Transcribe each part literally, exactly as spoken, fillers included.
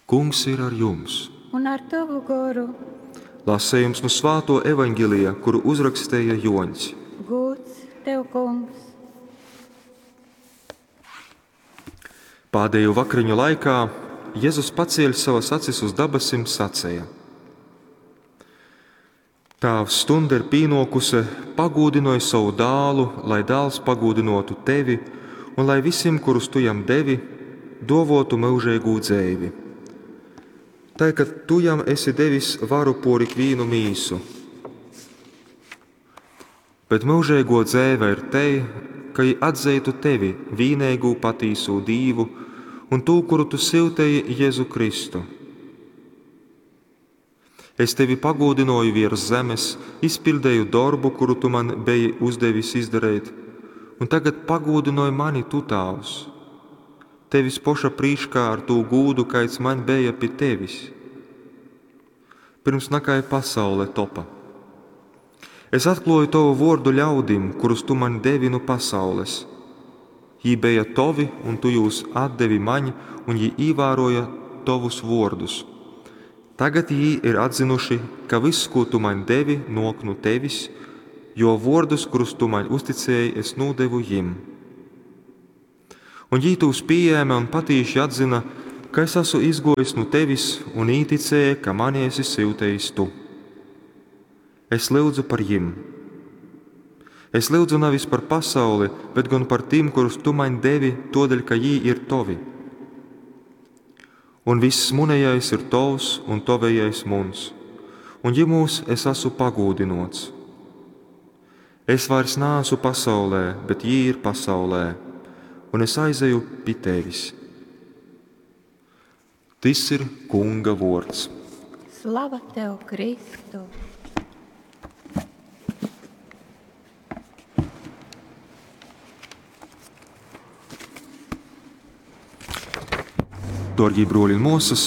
Kungs ir ar jums! Un ar tovu goru. Lasejums nu Svātuo Evaņgelija, kuru uzrakstēja Juoņs. Gūds tev, Kungs! Pādējo vakariņu laikā Jezus pacieļ savas acis uz dabasim saceja: Tāvs, stunda ir pīnokuse, pagūdinoj savu dālu, lai dāls pagūdinotu tevi, un lai visim, kurus tu jam devi, duovuotu myužeigū dzeivi. Tai, ka tu jam esi devis varu por ikvīnu mīsu. Bet myužeiguo dzeive ir tei, ka jī atzeitu tevi, vīneigū patīsū Dīvu, un tū, kuru tu syuteji, Jezu Kristu. Es tevi pagūdynuoju viers zemes, izpiļdeju dorbu, kuru tu man beji uzdevis izdareit, un tagad pagūdynoj mani tu, Tāvs, tevis poša prīškā ar tū gūdu, kaids maņ beja pi tevis, pirms nakai pasaule topa. Es atkluoju tovu vuordu ļaudim, kurus tu man devi nu pasaules. Jī beja tovi, un tu jūs atdevi maņ, un jī īvāroja tovus vuordus. Tagad jī ir atzinuši, ka vyss, kū tu maņ devi, nuok nu tevis, jo vuordus, kurus tu maņ uzticēji, es nūdevu jim. Un jī tūs pījēma un patīši atzina, ka es esmu izguojis nu tevis un īticēja, ka mani esi syutējis tu. Es lyudzu par jim. Es lyudzu nevis par pasauli, bet gan par tim, kurus tu maņ devi, todēļ, ka jī ir tovi. Un viss munejais ir tovs un tavējais muns, un jimūs es esmu pagūdinots. Es vairs neesmu pasaulē, bet jī ir pasaulē, un es aizeju pi tevis. Tys ir Kunga vuords. Slava tev, Kristu! Dārgie bruoli un muosas,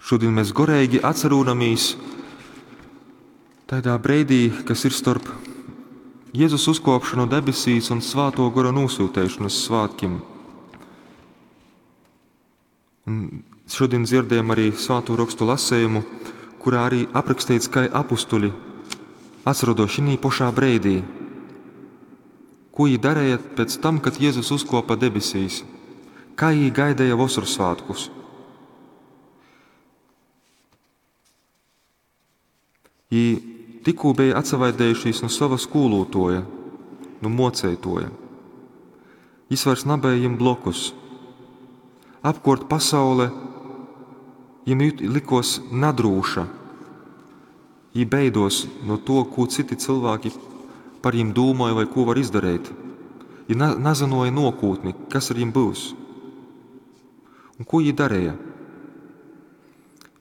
šodien mēs goreigi atcerūnamies tādā breidī, kas ir starp Jēzus uzkopšanu debesīs un Svāto Gora nosūtēšanas svētkiem. Un šodien dzirdējam arī Svāto rakstu lasējumu, kurā arī aprakstīts, kā apustuļi atrodos šī pašā breidī. Ko viņi darīja pēc tam, kad Jēzus uzkopa debesīs? Kā viņi gaidīja vasaras svētkus? Viņi tikko bija atsavaidējušies no sava skolotoja, no mocētoja. Jis vairs nebija jim blokus. Apkort pasaule jim likos nadrūša. Jī beidos no to, ko citi cilvēki par jim domāja vai ko var izdarīt. Jī na nazinoja nokūtni, kas ar jim būs. Un ko jī darīja?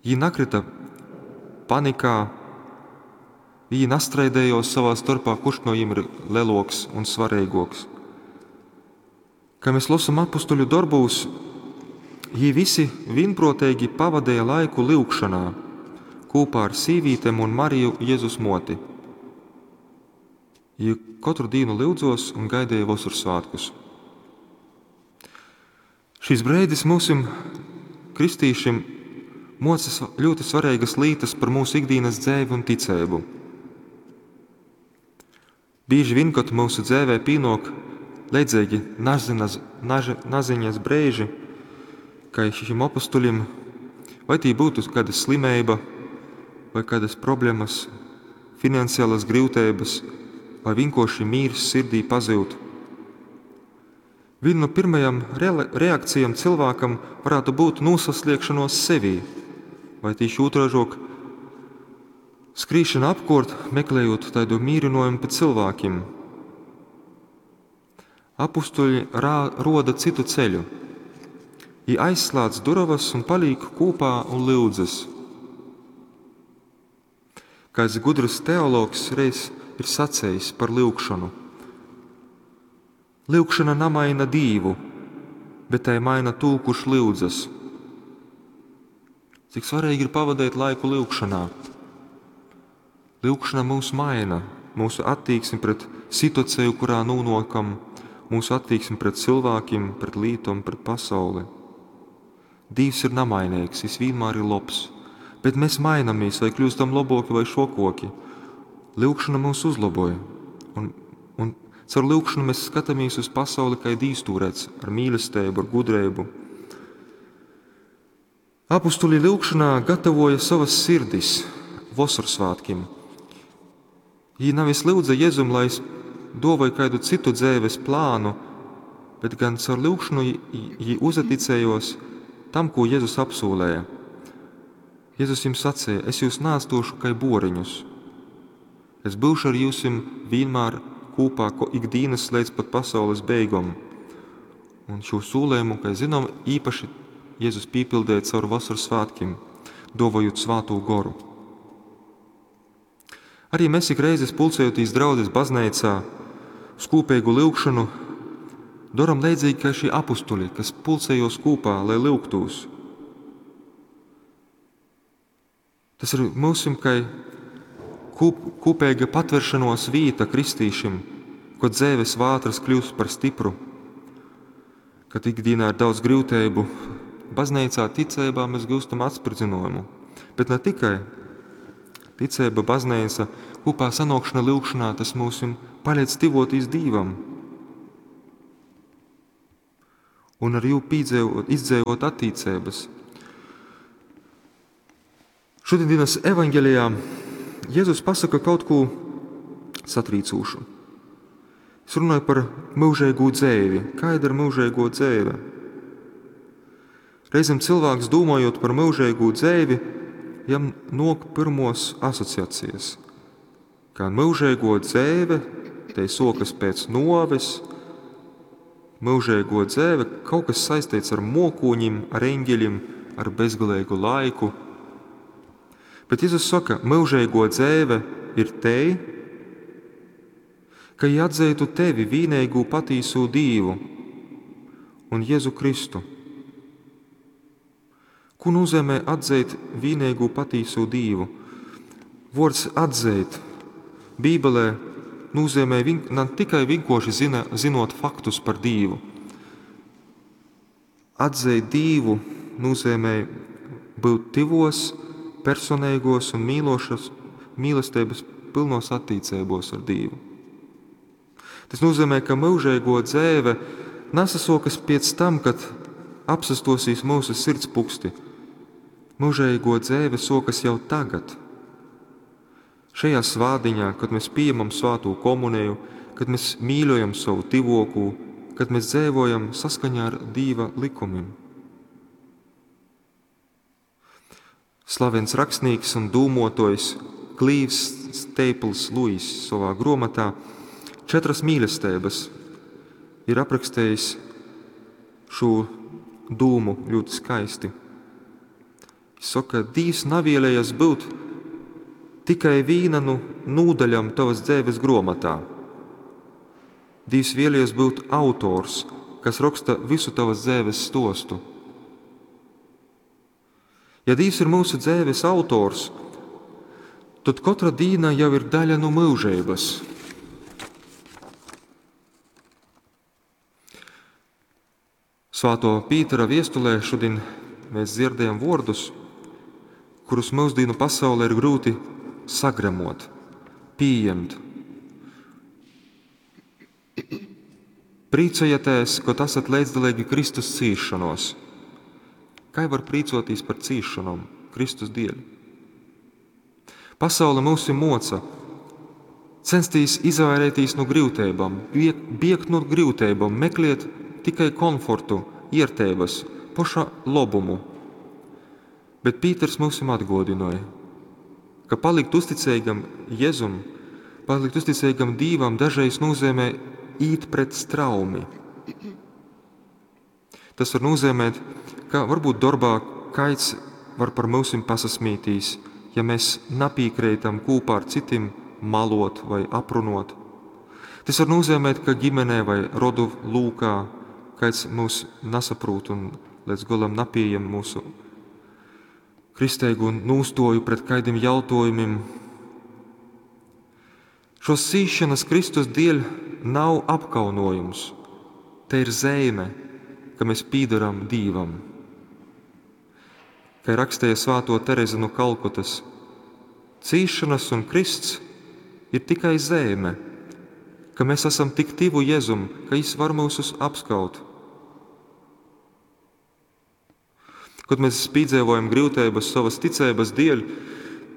Jī nakrita panikā, viņi nastraidējos savā starpā, kurš no jiem ir leloks un svarīgāks. Kā mēs lasām apustuļu darbūs, jī visi vienprātīgi pavadīja laiku lyugšanā, kopā ar sīvītēm un Mariju Jēzus moti. Jī katru dienu lyudzos un gaidīja vasaras svētkus. Šis brīdis mūsim, kristīšiem, moca ļoti svarīgas lietas par mūsu ikdienas dzēvi un ticību. Bieži vien, kad mūsu dzēvē pienāk leidzīgi nazinas, naži, naziņas brīži, kā šim apustuļim, vai tī būtu kāda slimība, vai kādas problēmas, finansiālas grūtības, vai vienkārši mīrs sirdī pazūd. Viena no pirmajām reakcijām cilvēkam varētu būt nosasliekšanos sevī, vai tīši otrāžok skrīšana apkort, meklējot tādu mīrinājumu pēc cilvēkiem. Apustuļi rā, roda citu ceļu. Jī aizslēdz durovas un paliek kopā un lyudzas. Kāds gudrs teologs reiz ir sacējis par lyugšanu. Lyugšana namaina Dīvu, bet tai maina tū, kurš lyudzas. Cik svarīgi ir pavadīt laiku lyugšanā. Lyugšana mūs maina, mūsu attieksmi pret situāciju, kurā nonākam, mūsu attieksmi pret cilvēkiem, pret lītom, pret pasauli. Dīvs ir namainīgs, Jis vienmēr ir lobs, bet mēs mainamies, vai kļūstam laboki vai šokoki. Lyugšana mūs uzlaboj, un, un caur lyugšanu mēs skatāmies uz pasauli, kā Dīvs to redz, ar mīlestību, ar gudrību. Apustuļi lyugšanā gatavoja savas sirdis Vosorsvētkiem. Jī nevis lūdza Jēzum, lai dāvāja kādu citu dzīves plānu, bet gan caur lyugšanu jī uzticējos tam, ko Jēzus apsolēja. Jēzus jums sacīja: Es jūs neatstošu kā boriņus. Es būšu ar jums vienmēr kopā ikdienas līdz pat pasaules beigom. Un šo solījumu, kā zinām, īpaši Jēzus piepildīja caur vasaras svētkiem, dāvājot svēto goru. Arī mēs ik reizes pulcējoties draudzes baznīcā uz kopīgu lyugšanu, daram līdzīgi kā šie apustuļi, kas pulcējos kopā, lai lyugtūs. Tas ir mūsim kā kūp, kopīga patveršanos vīta kristīšim, ko dzēves vātras kļūst par stipru, kad ikdienā ir daudz grūtību, baznīcā ticībā mēs gūstam atspridzinājumu. Bet ne tikai ticība, baznīca, kopā sanākšana, lyugšanā, tas mūs palīdz tuvoties Dievam. Un ar jū pīdzēvot, izdzēvot attīcības. Šodienas evaņģelijā Jēzus pasaka kaut ko satrīcošu. Es runāju par mūžīgo dzēvi. Kāda ir mūžīgo dzēve? Reizēm cilvēks, domājot par mūžīgo dzēvi, jam nok pirmos asociācijas. Kā mūžīgo dzēve, te sokas pēc noves, mūžīgo dzēve kaut kas saistīts ar mokūņim, ar eņģeļiem, ar bezgalīgu laiku. Bet Jēzus saka, mūžīgo dzēve ir te, ka jī atzītu tevi vienīgo patīso Dievu un Jēzu Kristu. Ko nozīmē atzīt vienīgo patīso Dievu? Vārds atzīt Bībelē nozīmē vien, ne tikai vienkārši zina, zinot faktus par Dievu. Atzīt Dievu nozīmē būt tivos, personīgos un mīlošas, mīlestības pilnos attiecībos ar Dievu. Tas nozīmē, ka mūžīgo dzēve nesasokas pēc tam, kad apsastosīs mūsu sirds puksti. Mūžīgo dzēve sokas jau tagad. Šajā svādiņā, kad mēs pieņemam svēto komuniju, kad mēs mīļojam savu tivoku, kad mēs dzīvojam saskaņā ar Dieva likumiem. Slavens rakstnieks un dūmotojs Klīvs Staples Lewis savā grāmatā Četras mīlestības ir aprakstījis šo dūmu ļoti skaisti. Viņš saka, Dievs navielējas būt tikai viena no nūdaļām tavas dzīves grāmatā. Dievs vēlējies būt autors, kas raksta visu tavas dzīves stostu. Ja Dievs ir mūsu dzīves autors, tad katra dīna jau ir daļa no mūžības. Svēto Pītera viestulē šodien mēs dzirdējam vārdus, kurus mūsdienu pasaulē ir grūti sagremot, pieņemt. Priecājieties, kad esat līdzdalīgi Kristus cīšanos. Kā var priecoties par cīšanām Kristus dēļ? Pasaule mūs moca censties izvairīties no grūtībām, biegt no grūtībām, meklēt tikai komfortu, iertības, paša labumu. Bet Pīters mums atgādināja, ka palikt uzticīgam Jēzum, palikt uzticīgam Dievam dažreiz nozīmē īt pret straumi. Tas var nozīmēt, ka varbūt darbā kaids var par mūsim pasasmītīs, ja mēs napīkrītam kopā ar citiem malot vai aprunot. Tas var nozīmēt, ka ģimenē vai rodu lūkā kāds mūs nesaprot un līdz galam napieņem mūsu kristēgu nūstoju pret kādiem jautājumiem. Šos cīšanas Kristus dēļ nav apkaunojums. Te ir zīme, ka mēs pīdaram Dievam. Kai raksteja svātuo Tereze nu Kalkutys, cīsšonys un krysts ir tikai zeime, ka mes asam tik tyvu Jezum, ka jis var myusus apskaut. Kod mēs pīdzeivojam gryuteibys sovys ticeibys dieļ,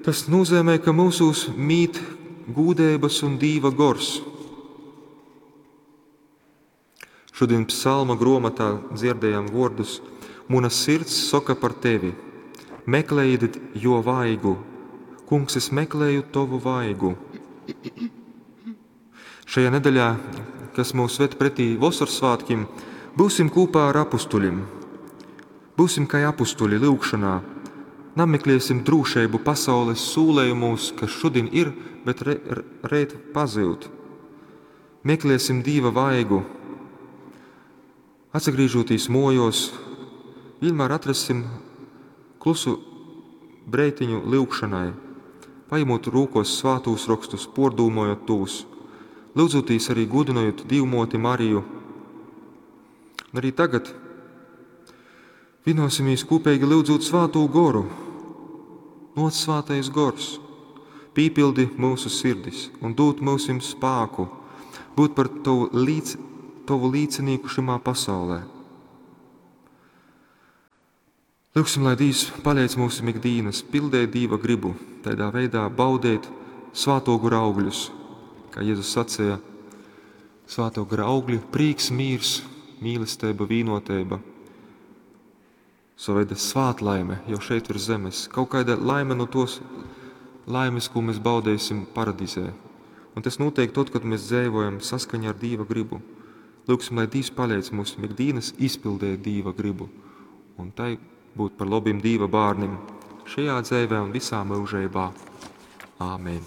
tas nūzeimej, ka myusūs mīt gūdeibys un Dīva gors. Šodien psalma gruomotā dzierdējam vuordus: Muna sirds soka par tevi, meklējiet juo vaigu. Kungs, es meklēju tovu vaigu. Šajā nedeļā, kas mūs ved pretī Vosorsvātkim, būsim kūpā ar apustuļim. Būsim kai apustuļi lyugšonā. Namekliesim drūšeibu pasaules sūlejumūs, kas šodien ir, bet re, reit pazyud. Mekliesim Dīva vaigu. Atsagrīžoties mojos, vienmēr atrassim klusu breitiņu lyugšanai, paņemot rūkos svātūs rakstus, pordūmojot tūs, lyudzotīs arī gudinojot Dīvmoti Mariju. Un arī tagad vienosimies kopīgi lyudzot svātū goru. Nāc svātais gors, pīpildi mūsu sirdis un dod mūsim spāku būt par tovu, līdz, tovu līdzinīku šimā pasaulē. Lūgsim, lai Dīvs paliec mūsu ikdienas, pildēt Dīva gribu, tādā veidā baudēt svāto gora augļus. Kā Jēzus sacīja, svāto gara augļi – prīks, mīrs, mīlestība, vīnotība. Sava veida svātlaime jau šeit virs zemes. Kaut kāda laime no tos laimes, ko mēs baudēsim paradīzē. Un tas notiek tad, kad mēs dzīvojam saskaņā ar Dīva gribu. Lūgsim, lai Dievs paliec mūsu ikdienas izpildēt Dīva gribu. Un tai būt par labiem Dīva bērniem šajā dzīvē un visā mūžībā. Āmen.